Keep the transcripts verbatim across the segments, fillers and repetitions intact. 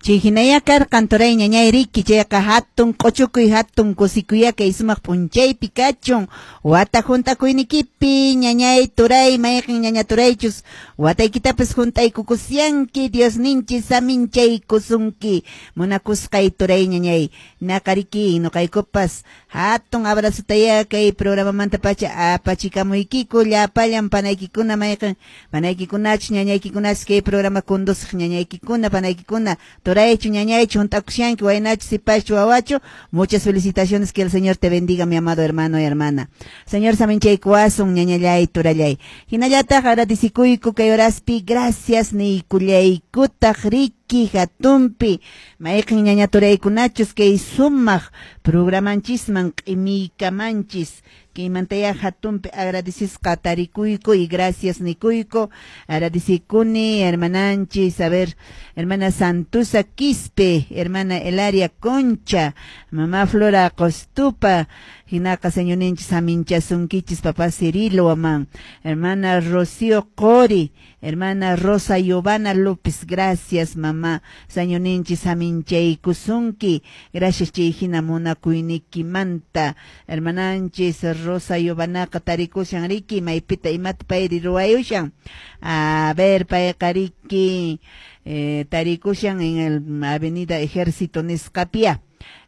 Chay hinaya karqan, turay, ñañay, riki. Chayqa hatun q'uchukuy, hatun kusikuya kay sumaq p'unchaypi kachun wata hunt'akuynikipi, ñañay, turay. Mayqin ñaña turaychus wataykitapas hunt'aykukusyanki, Diosninchis saminchaykusunki, munakusqay turay, ñañay. Naqariki nuqaykupas hatun abrazotaya kay programamanta pacha apachikamuykiku llapallan panaykikuna, mayqin panaykikunachus, ñañaykikunachus kay programa conduciq ñañaykikuna, panaykikuna, turaychu, ñañaychu hunt'akushanki, waynachu, sipaschu, wawachu. Muchas felicitaciones, que el Señor te bendiga, mi amado hermano y hermana. Señor saminchaykuwasun, ñañallay, turallay. Hinallataq agradecikuyku kay horaspi, gracias niykullaykutaq riki hatunpi mayqin ñaña turaykunachus kay sumaq programanchisman q'imiykamanchis. Kaymantaya hatunpi agradecesqa tarikuyku y gracias nikuyku. Agradecikuni hermananchis, a ver, hermana Santusa Quispe, hermana Elaria Concha, mamá Flora Costupa. Hinaqa Señorninchis saminchasunkichis, papá Cirilo Amán, hermana Rocío Cori, hermana Rosa Giovanna López. Gracias, mamá, Señorninchis saminchaykusunki. Gracias chay hina munakuynikimanta. Hermananchis Rosa Giovannaqa tarikushan riki, maypita, imata payri ruwayushan? A ver, payqa riki eh, tarikushan en el Avenida Ejército nisqapia,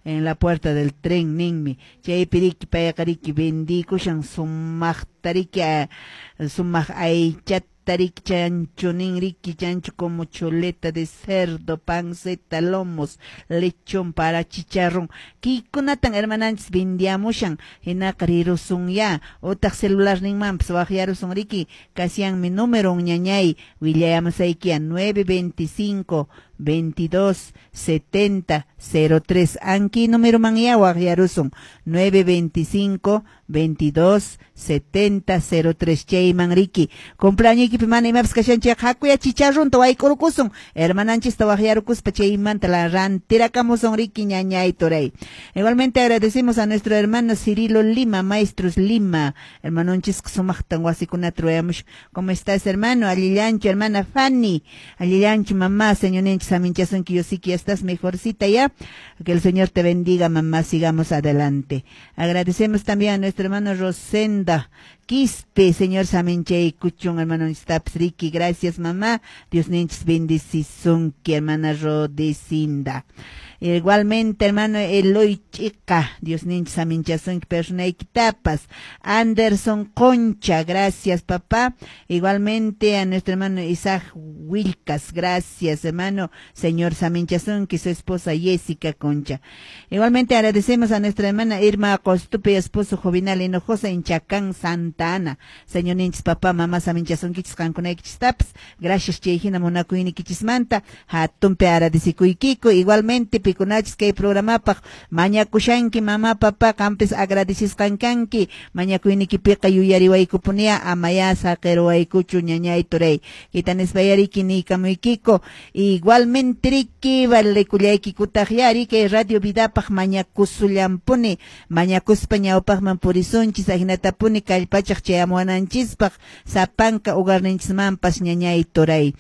en la Puerta del Tren ninmi. Chaypi riki payqa riki vendikushan sumaqta riki, sumaq aychata riki, chancho nin riki, chancho como chuleta de cerdo, panceta, lomos, lechón para chicharrón. Kaykunatan hermananchis vendiamushan. Hinaqa rirusun ya, utaq celular ninmanpas waqyarusun riki, kasyanmi número, ñañay, willayamusaykiya: nueve veinticinco veintidós setenta cero tres. Anki número man ya waqyarusun: nueve veinticinco veintidós setenta cero tres. Chayman riki cumpleaños mana imapas kashan chayqa, hakuya chicharrunta wayk'urukusun, hermananchista waqyarukuspa chaymanta la rantirakamusun riki, ñañay, turay. Igualmente agradecemos a nuestro hermano Cirilo Lima, Maestros Lima. Hermanonchisqa sumaqtan wasikunata ruwayamush. ¿Cómo estás, hermano? Allillanchu, hermana Fanny? Allillanchu, mamá? Señorninchis saminchasunki. Yo sí que ya estás mejorcita ya. Que el Señor te bendiga, mamá. Sigamos adelante. Agradecemos también a nuestro hermano Rosenda Quispe. Señor saminchaykuchun, hermano riki. Gracias, mamá. Diosninchis bendecisunki, hermana Rodecinda. Igualmente, hermano Eloy Chica, Diosninchis saminchasunki personaykitapas. Anderson Concha, gracias, papá. Igualmente a nuestro hermano Isaac Wilcas, gracias, hermano. Señor saminchasunki, su esposa Jessica Concha. Igualmente agradecemos a nuestra hermana Irma Costupe y esposo Jovinal Hinojosa en Chacán, Santa Ana. Señorninchis, papá, mamá, saminchasunkichis qankunaykichistapas. Gracias chay hina munakuynikichismanta. Hatunpi agradecikuykiku. Igualmente pikunachis kay programapaq mañakushanki, mamá, papá, qampis agradecesqan kanki. Mañakuynikipiqa yuyariwaykupunia, amaya saqiruwaykuchu, ñañay, turay. Kitanispa yariki niykamuykiku. Igualmente riki valekullaykikutaq yari kay Radio Vidapaq mañakusullampuni. Mañakuspa ñawpaqman purisunchis, ahinatapuni kallpachaq chayamuwananchispaq sapanka hogarninchismanpas, ñañay, turay.